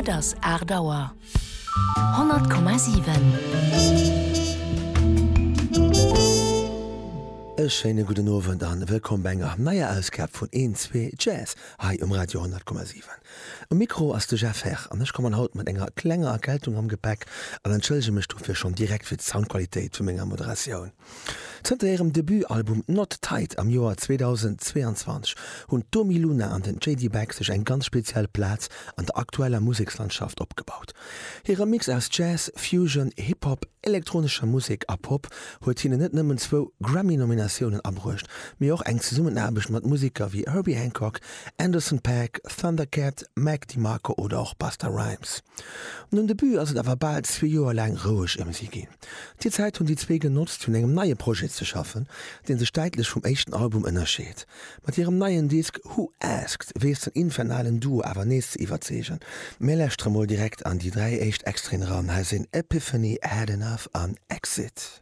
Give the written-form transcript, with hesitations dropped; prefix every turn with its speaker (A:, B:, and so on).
A: Et ass 8 Auer. 100,7.
B: E schéine gudden Owend an wëllkomm bei enger neier Ausgab vun Een, Zwee, Jazz hei um Radio 100,7. Um Mikro ass de Jeff Herr an ech kommen haut mat enger klenger Erkältung am Gepäck an entschëllege mech dofir schonn direkt fir d'Soundqualitéit vu menger Moderatioun. Zënter hirem Debutalbum Not Tight am Joer 2022 hunn d'Domi Luna an den JD Beck sech eng ganz speziell Plaz an der aktueller Musekslandschaft opgebaut. Hire Mix aus Jazz, Fusion, Hip-Hop, elektronescher Musek a Pop huet hinnen net nëmmen zwou Grammy-Nominatiounen abruecht, mee och eng Zesummenaarbecht mat Museker wéi Herbie Hancock, Anderson .Paak, Thundercat, Mac DeMarco oder och Busta Rhymes. Nom Debut ass et awer bal zwee Joer laang roueg ëm si ginn. Déi Zäit hunn déi zwee genotzt fir un engem neie Projet ze schaffen, dee sech däitlech vum éischten Album ënnerscheet. Mat hirem neien Disk Who Asked weess den infernalen Duo awer nees ze iwwerzeegen. Mir lauschtere mol direkt an déi 3 éischt Extraiten eran, hei sinn Epiphany, Had Enough an Exit.